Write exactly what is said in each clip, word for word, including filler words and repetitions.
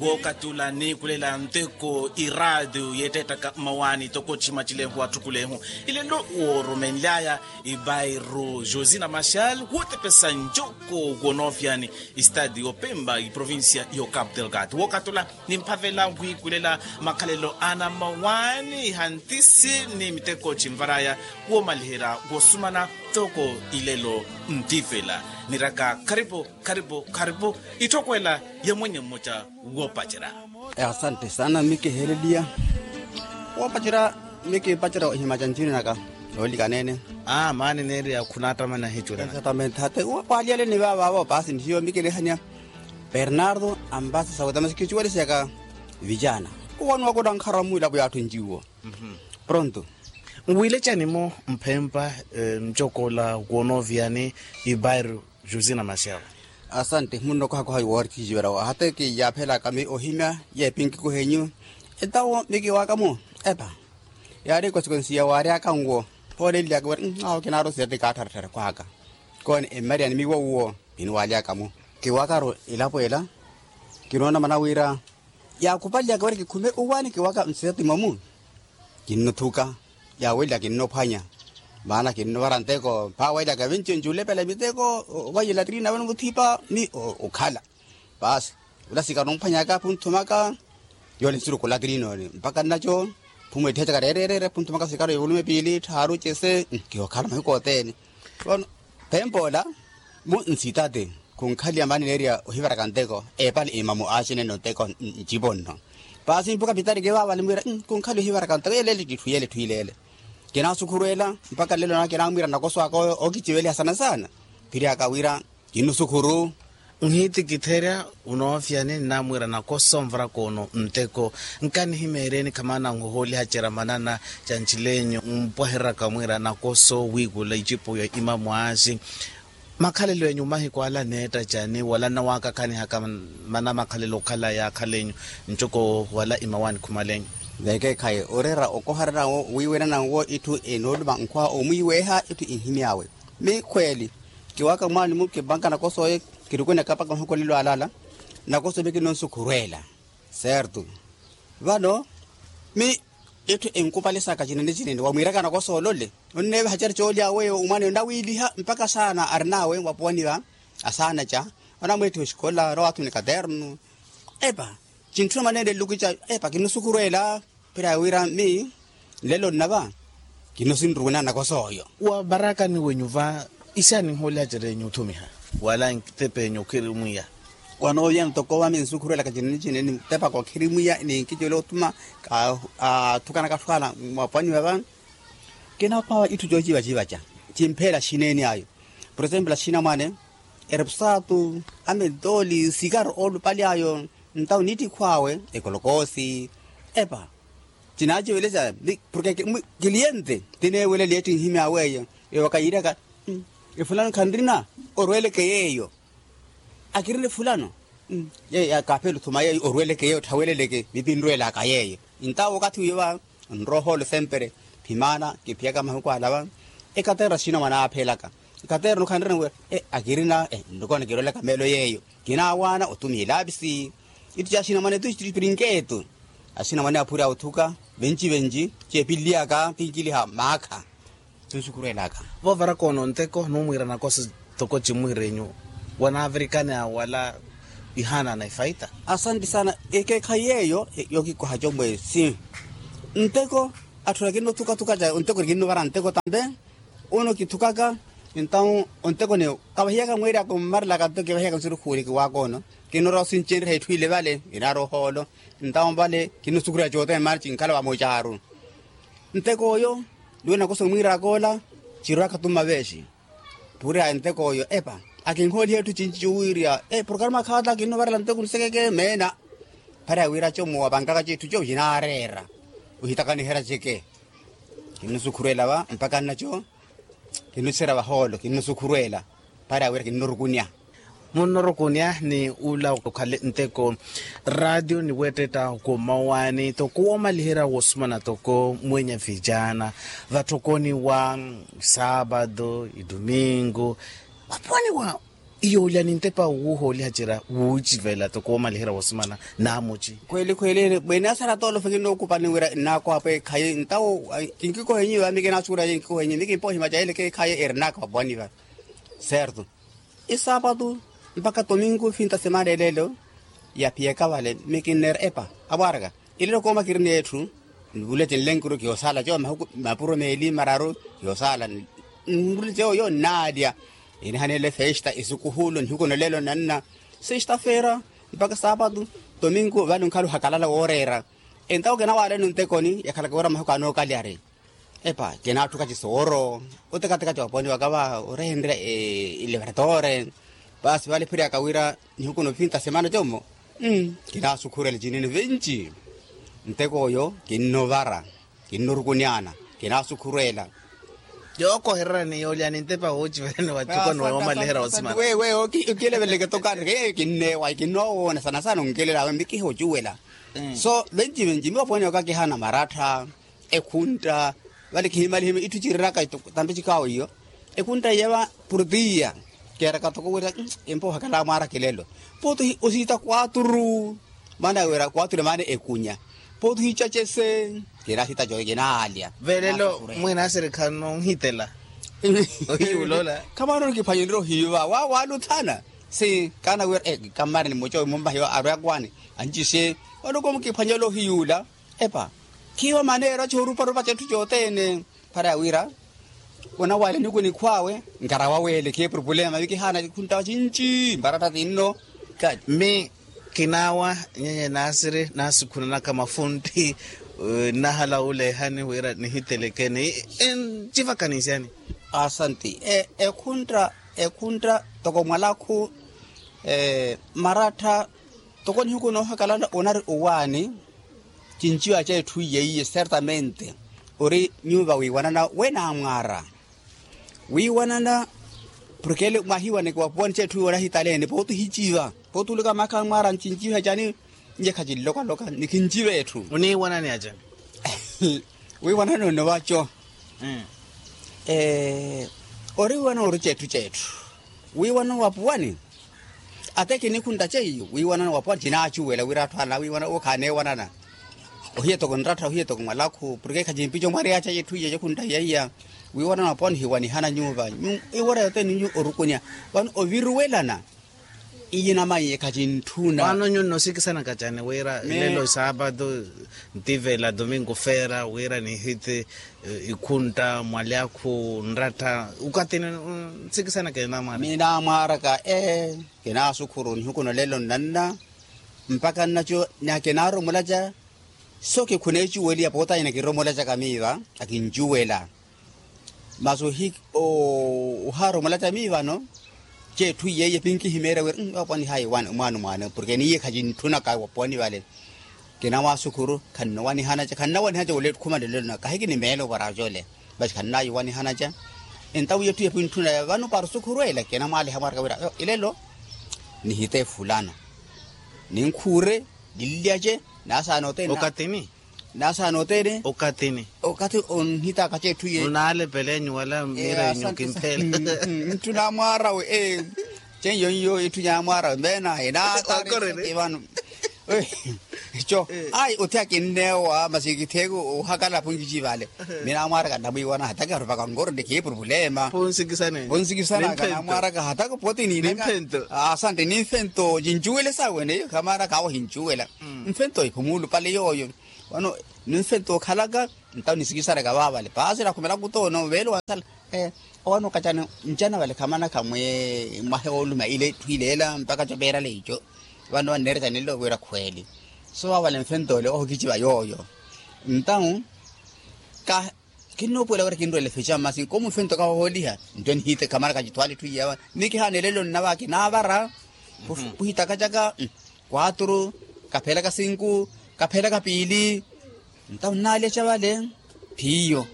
Wookatula niikulela nteko iraatiyo yeetteettaka mmawaani toko chimacilehu atthukulehu. Ilelo woorumenly'aya ibairu josina machal wootepesa ncoko wonoofyani, istadi yopemba iprovincia yo cap delgado wookatula nimphavela wiikulela makhalelo ana mmawaani ihantisi ni miteko chinvar'aya woomaliherya wosumana. Toko ilelo ntiifela niraka kharipu kharipu kharipu itthokwela ya mwenye mmoca. Woopacerya. Asante sana mikiheleliya. Woopacerya mikipacerya ohimacantini naka. Yoolikaneene. Aa maani neeriya khunattamana hicu exatamente hate. Waaliyaleni vaavaavo paasi ntiyo mikinihanya bernardo ambasa sauta masi kicuwelisyaka vijana. Uwani wakuttankharwa mwilapo yaatthu njiwo. Pronto. Nwiilecani-mo mphempa ncokola woonooviyani ibairu josina machal. Asante munno kohakoha woorikhijiwela hata kiyaaphelaka mi ohimya yeepinkikuhenyu. Etawo mikiwaaka-mo epa yaari ekosikonsiya waaryaka nwo. Ooleliyaka wira awo kinaari osiyati kaattharatthara kwaaka koone emmariyani miwo uwo. Kiniwaalyaka-mo kiwaakaru elapo ela. Kinoona mana wira yaakupaliyaka wira kikhume uwaani kiwaaka nsiyatima-mu. Kinnothuka yaawelya kinnophwanya maana kinnopara nteko mphaawelyaka vinci nculepela miteko. Ovanyela trina vano muthipa mi okhala paasi. Ola sikari omphwanyaka phunthumaka yoole nsuruku ola trina ole mpaka nnaco phumwettihacaka reereereere phunthumaka sikari yovulume piili tthaaru cese. Kihookhala mahiku othene. Vano pempoola mu nsitati khunkhaliya maani neeriya ohivaraka nteko. Eepale imamu aacinene onteko ncipo nno paasi mpuka pitari kivaavale mwiira khunkhaliya ohivaraka nteko yeleele kitthu yele etthu ileele. Kinaasukhurwela mpaka nlelo naka kinamwiira nakoso aka okiciveliha sana sana. Phiri aka wira kinnusukhuru. Nhitikitherya unoofyani nnamwiira nakoso nvarakoono nteko. Nkanihimeereeni khamana nhohooliha cera manana ca ncilenyu mpwahereraka mwiira nakoso wiikula icipo ya imamu aaxi. Makhalelo enyu mahiku ala neetta cani wala nnawaakakhanihaka mana makhalelo okhala yaakhalenyu ncoko wala imawaani khumalenyu? Vekeekhayi oreera okoharana wo wiiwenana wo itthu enooluma nkhwa omwiiweeha itthu inhimy'awe. Mi khweeli kiwaaka mwaani-mu kipanka nakoso oyo. Kirukunaka mpaka mahiku olelo alala nakoso mi kinnonsukhurwela. Certo. Vano mi itthu enkupalesaka cinene cinene wamwiiraka nakoso olole onneevaha cari coolya weyo omwaneyo nnawiiliha mpaka saana arinawe vapowani va asaana ca anamweettiha oxikola anawaatthuna ekaternu. Epa cintthuna mwaneene nluku ca epa kinnusukhurwela. Phira wira mi nlelo nnava kinnusinruwina nakoso oyo. Wa varakani wenyu va ixaani nhoolya cerenyu othumiha wala ntepe enyu okhirimwiya. Wanooviyana toko va mi nsukhurwelaka cinene cinene nitepaka okhirimwiya ni nkicelo othuma athukanaka athwala mwapwaniwa va. Kinaphwawa itthu coocivacivaca cimpheela axineni ayo. Por exemplo axinamwane erepusatu amentoli sikari oolupali ayo. Ntawo nittikhw'awe ekolokoosi epa cinaacivelesya. Porke kiliyente tineeweleliye tinhimy'awe eyo. Eyo wakayiiryaka efulano khanrina orweleke yeeyo. Akirina efulano yeeyo kaaphela othuma yeeyo orweleke yeeyo otthaweleleke vipinrwelaka yeeyo. Ntawo wakathi wiiyo va nrohoolo sempere. Phimaana kiphiyaka mahiku ala va ekaterno axina mwana aaphelaka ekaterno khanrina wira akirina nlukona kirwelaka meelo yeeyo. Kinaawaana otumiha ilaapisi itti ca axina mwana etu iprinketu. Axina mwana aphurya othuka venci venci ceepilliyaka kinkiliha maakha. Tunsukhurwelaka voovarakoono nteko numwiira nakoso toko cimwiirenyu wanaavirikana wala ihaanana ifaita. Asante sana ekeekhayi yeeyo yokikoha comwesi nteko atthu nakinnothukathuka ca onteko nikinnuvara nteko tambe. Ono kithukaka entawo onteko niyo kavahiyaka mweerya kummarelaka nto kivahiyaka nsurukhuuli kiwaaka ono. Kinnoora osincenrya itthu ile vale inaari ohoolo entawo vale kinnosukhurya cothene maana cinkhala vamocaru. Nteko oyo niwene nakoso mwiiraka ola cirwaka tumma veexi. Purya nteko oyo epa akinhooliha itthu cinci cuwiirya programa khaata kinnovarela nteko nisekeke meena. Phari awira como wapankaka citthu co cinaareera ohitakaniherya ceke. Kinnusukhurwela va mpaka nnaco kinnuserya vahoolo kinnusukhurwela. Phari awira kinnurukunya. Munnorukunya ni ula okhale nteko raatiyo ni weettetta okomawaani toko woomaliherya wosumana toko mwenya vijana vatthokoni wa saapatu idumingu. Wapwaniwa Iyo olya nintepa wuuhooliha cira wuucivela toko woomalihira wosimana. Naamuci khweeli khweeli. Mweene asara toolofe kinnookupani wira nnaakwaapwa ekhayi ntawo. Kinkikohenyiwa mi kinaasukureya kinkikohenyiwa mi kimpohimaca eleke ekhayi eri nnaakwaapwani va. Serto. Isaapatu mpakha tominku finta semana eleelo. Yaphiyaka vale mi kinneera epa amwaaraka. Ileelo kooma kirina etthu. Nivule cinlenkuru kiyoosaala coomahuku mapuro meeli mararu. Kiyoosaala nivule cooyo nnaalya. Inihaneele festa isukuhulo nihuku noleelo nanna. Sesta feera mpakha saapatu tominku vale onkhala ohakalala wooreera. Entawo kinawaaleno ntekoni yakhalaka wira mahuku anookalyari. Epa kinaatthuka cisooro. Otekateka cooponiwaka va orehenrya. Ileveratore. Paasi vale phiryaka wira nihuku nofinta semana commo. Kinaasukhurela cinene vinci. Ntek'oyo kinnovara. Kinnorukunyaana. Kinaasukhurela. Yookohererani yoolyaani ntepa woochiverani watthukoni woomalihera wosimana. Wewe okileveleke tokari kinneewa kinnoowoona sana sana onkelela awe mikiha ocuwela. So venci venci miwapwene waka kihana marattha. Ekhuntta vale kihimalihimi itthu ciriraka tampe cikaawo iyo. Ekhuntta iya va purutiya. Keeraka toko wira empa ohakala mwaara kilelo. Pooti osiita kwaturu. Maana wira kwaturu maana ekunya. Pooti ohiica cese. Kinaasiita cooyo kinaalya. Velelo mwina asirikha nonhitela. Ohiyuula ola. Khamaana onikiphwanyererya ohiiva wawaluthana. Si kaana wira kammari ni muco mummahiwa arwe akwaani. Ancisye. Wano komukiphwanyererya ohiyuula. Epa. Khiiwa maneera cooruparupa cetthu cothene. Para ya wira onawale niku nikhw'awe. Nkarawa wele kheeprupulema vikihaana khunttawa cinci mbaratta tinno. Mi kinaawa nyenye naasiri naasukhunanaka mafuntti. Nnahala wuulehani wira nihitelekeni. Ncivakanisyani. Asanti. Ekhuntta ekhuntta toko mwalakhu marattha. Toko nihiku noohakalana onari owaani. Cinciwa ca etthu iye iye certamente ori nyuva wiiwanana wenamwaara. Wiiwanana porke ele mwahiwaneke wapuwani ca etthu iye onahitaleene pooti ohiciva pooti olika maakha amwaara ncinciwa cani. Nje khacinlokaloka nikinciva etthu. Oniiwanani acani? Wiiwanana onnovaco. Ori wiiwanana ori cetthu cetthu. Wiiwanana wapuwani. Ate kinikhuntta ceiyo wiiwanana wapuwani cinaacuwela wira atthu anawiiwanana owo khaaneewanana. Ohiya toko nrattha ohiya toko mwalakhu porke khacimpico mwariyaaca yetthu iye yakhuntta iya iya. Wiiwanana wapuwani ohiwanihana nyuva iwora yothene nyuva orukunya. Vano oviruwelana. Iye namaiye khacintthuna. Vano nyuwo nnoosikisanaka cani wira lelo saapatu ntivela domingo feera wira nihiti ikhuntta mwalyakhu nrattha. Okathini nsikisanaka enamwaaraka minamwaaraka ee. Kinaasukhuru nihuku nolelo nnanna. Mpakha nnaco na kinaaromolaca. So kikhuneecuweliya pooti anyana kiromolacaka miiva akincuwela. Masi ohaaromolaca miivano. Ceetthu iyeiye pinkihimeerya wira apwani hayi mwaano mwaano porke niye khacintthunaka wapwani vale. Kinamwaasukhuru khannowanihanaca khannowanihanaca wala ekhuma nlolelo na kahi kinimeela opwara cole. Masi khannaayi owanihanaca. Entawo yetthu yapwintthuna vano para osukhuru ela kinamwaaliha mwaraka wira ilelo nihite fulano. Ninkhuure ninlyace. Nasaana othene. Okathini. Nasaana othene. Okathini. Okathi onhitaka cetthu iye. Onaalepela enyu wala miira enyu kimphela. Ntthu namwaarawe. Ceiyo nyo itthu nyamwaarawe meena enaataari vano. Co ayi othi akinneewa masi kitheeke ohakala aphunkici vale. Minamwaaraka nnamwiiwana hataka arupaka nkoro nde khiye purupulema. Ponsikisanaka namwaaraka hataka pooti niinaka. Asante nimphento cincuwele sawe neyo khamaana kaawo ohincuwela. Mfento ephumuulu pale yooyo. Vano nimfento okhalaka. Ntawo nisikisareka vaavale paasi nakhumelaka otoono veelo wansala. Owaani okacana ncana vale khamanakha mwahe wooluma ile etthu ileela mpakha copeerala ico. Vano vanneerya canelo wira khweeli. So vaavale mfento ole ohokiciva yooyo. Ntawo ka kinnoopuwela wira kinrwele fica masi nkomu mfento kahohooliha. Nto nihite khamanakha cithwaala etthu iyawa. Ni kihaana elelo nnava kinaavara. Kuhitakacaka kwaturu, kaphelaka sinku, kaphelaka piili. Ntawo nnaalyaca vale. Phiyo.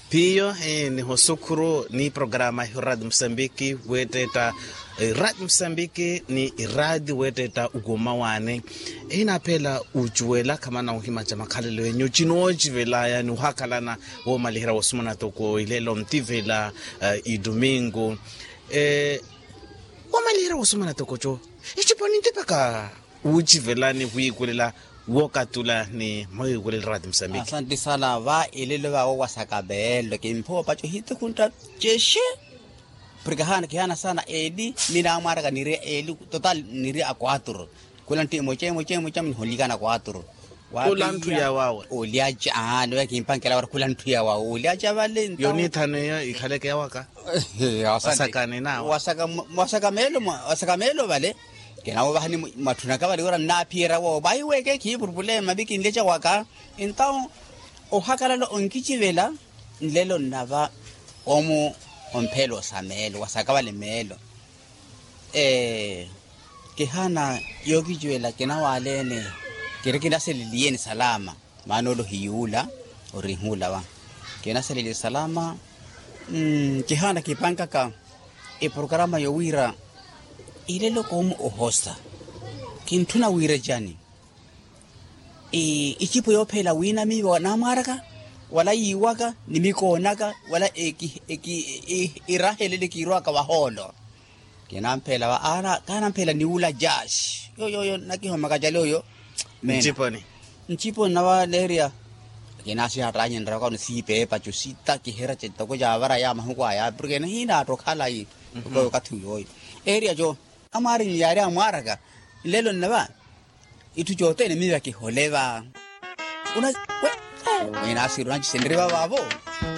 Phiyo. Nihosukhuru ni programa iho radio musambiki weettetta. Iraadi musambiki ni iraadi weettetta ukuuma waani. Ehinaaphela ucuwela khamana ohimaca makhalelo enyu cinoocivelaya ni ohakhalana. Woomaliherya woosumana toko ilelo ntivela idumingu. Wamaliherya wosoma natokoco, ecipo nintipaka wuucivelani wiikulela, wookatula ni mwawiikulela raati musambiki. Asanti sana va elelo vaawo wasaka meelo kimphowa paco hitukhuntta, ceshe. Porke haana kihaana sana eli, mina amwaraka niri eli total niri a kwaturu. Kula ntti emoca emoca emoca minholikana kwaturu. Kula ntthu ya wawe. Olyaca aa niwe kimpankelawara kula ntthu ya wawe olyaca vale. Yonithano eyo ikhaleke yawaka. Wasaka meelo vale. Kinawo vahani mwatthunaka vale wira nnaaphiyerya wawo vahiweke khiipurupule mavi kinleca waka. Entaw ohakalala onkicivela nlelo nnava omu omphelo sa meelo wasaka vale meelo. Kihaana yookiciwela kinawaleene. Kiri kinaseleliye ni salama maana ole ohiyuula. Orihuula va kinaseleliye salama. Kihaana kipankaka eprokarama yowiira ilelo koomu ohosa kintthuna wiira cani. Icipo yoophela wiina miiva namwaraka wala yiiwaka ni mikoonaka wala irahelele kiirwaka vahoolo. Kinamphela va kaanamphela niwula jaasi yoyoyo nakihomaka cali oyo. Nciponi nciponi nava neerya. Kinasihattanyinrya vakano siipeepa co sitakiherya cetoko caavara ya mahuku aya porke nihinaattokhalayi. Okathi uyooyo eerya co amwaari nyaari amwaraka nlelo nnava. Itthu cothene miiva kihole va. Unasi unacise nriva vavo.